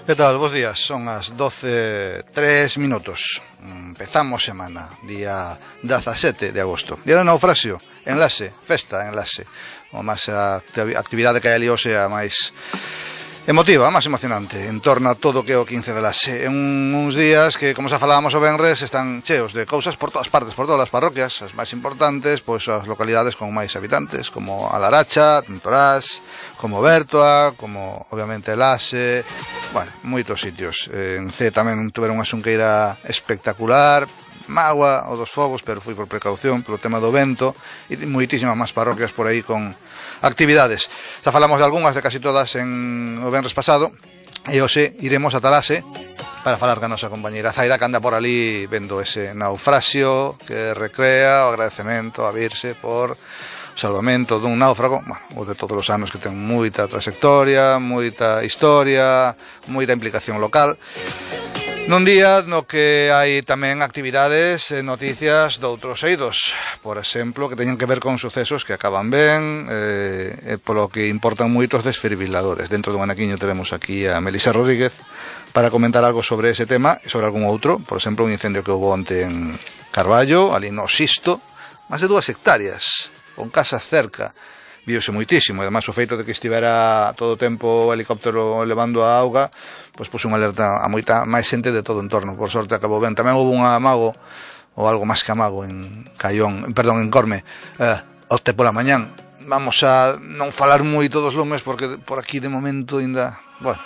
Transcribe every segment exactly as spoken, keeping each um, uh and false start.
Que tal? Bos días, son as doce e tres minutos. Empezamos semana, día dezasete de agosto. Día do naufraxio, enlace, festa, enlace. O máis a actividade que hai ali hoxe a máis emotiva, a máis emocionante, en torno a todo o que é o quince de enlace. En uns días que, como xa falábamos o venres, están cheos de cousas por todas partes, por todas as parroquias, as máis importantes, pois as localidades con máis habitantes, como A Laracha, Tintorás, como Bertoa, como obviamente Lase, bueno, moitos sitios. En C tamén tuveron unha xunqueira espectacular, magua o dos fogos, pero foi por precaución, polo tema do vento, e moitísimas máis parroquias por aí con actividades. Xa falamos de algunhas, de casi todas en o venres pasado, e hoxe iremos a Lase para falar ca nosa compañeira Zaida, que anda por ali vendo ese naufraxio, que recrea o agradecemento a Virse por salvamento dun náufrago, bueno, o de todos os anos, que ten moita trayectoria, moita historia, moita implicación local. Nun día no que hai tamén actividades e noticias doutros eidos, por exemplo, que teñen que ver con sucesos que acaban ben, eh, polo que importan moitos desfibriladores. Dentro dun anaquiño teremos aquí a Melisa Rodríguez para comentar algo sobre ese tema e sobre algún outro, por exemplo, un incendio que houve onte en Carballo, ali no Sisto, máis de dúas hectáreas, con casas cerca, viose moitísimo, e ademais o feito de que estivera todo o tempo o helicóptero levando a auga, pois puso unha alerta a moita máis xente de todo o entorno. Por sorte acabou ben. Tamén houve un amago, ou algo máis que amago, en Caión, perdón, en Corme, eh, opte pola mañán. Vamos a non falar moito dos lumes, porque por aquí de momento ainda, bueno,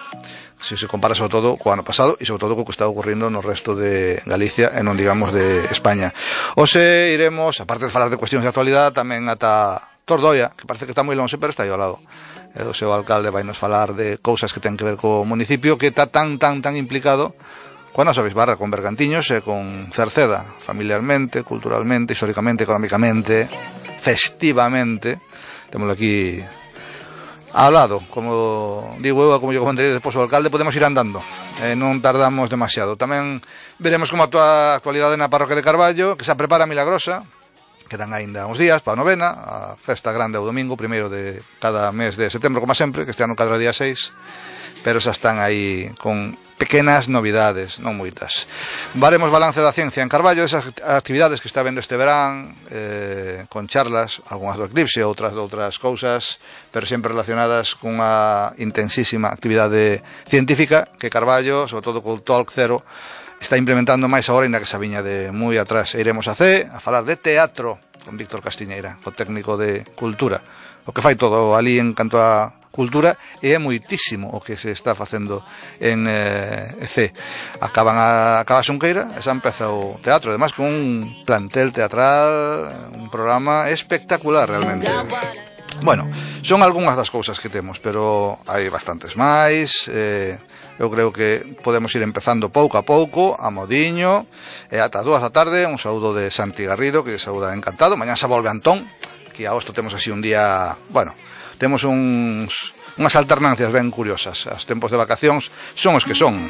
se se compara sobre todo co ano pasado e sobre todo co que está ocurrindo no resto de Galicia e non digamos de España. Hoxe iremos, aparte de falar de cuestións de actualidade, tamén ata Tordoia, que parece que está moi longe, pero está aí ao lado. E o seu alcalde vai nos falar de cousas que ten que ver co municipio, que está tan, tan, tan implicado coa nosa bisbarra, con Bergantiños e con Cerceda, familiarmente, culturalmente, históricamente, económicamente, festivamente. Témoslo aquí ao lado, como digo eu, como yo comentarei despois o alcalde, podemos ir andando, eh, non tardamos demasiado. Tamén veremos como a actualidade na parroquia de Carballo, que se prepara Milagrosa, quedan aínda uns días para a novena, a festa grande o domingo, primeiro de cada mes de setembro, como sempre, que este ano cada día seis, pero xa están aí con pequenas novidades, non moitas. Varemos balance da ciencia en Carballo, esas actividades que está vendo este verán, eh, con charlas, algunhas do eclipse, outras de outras cousas, pero sempre relacionadas cunha intensísima actividade científica que Carballo, sobre todo co Talk Zero, está implementando máis agora, ainda que xa viña de moi atrás. E iremos a C a falar de teatro con Víctor Castiñeira, o técnico de cultura, o que fai todo ali en canto a cultura, e é moitísimo o que se está facendo en eh, C. Acaban a, acaba a xunqueira e xa empeza o teatro, además con un plantel teatral, un programa espectacular realmente. Bueno, son algunhas das cousas que temos, pero hai bastantes máis. eh, Eu creo que podemos ir empezando pouco a pouco, a modiño, e ata dúas da tarde. Un saúdo de Santi Garrido, que saúda encantado. Mañá xa volve Antón, que a hosto temos así un día, bueno, temos uns, unhas alternancias ben curiosas. Os tempos de vacacións son os que son.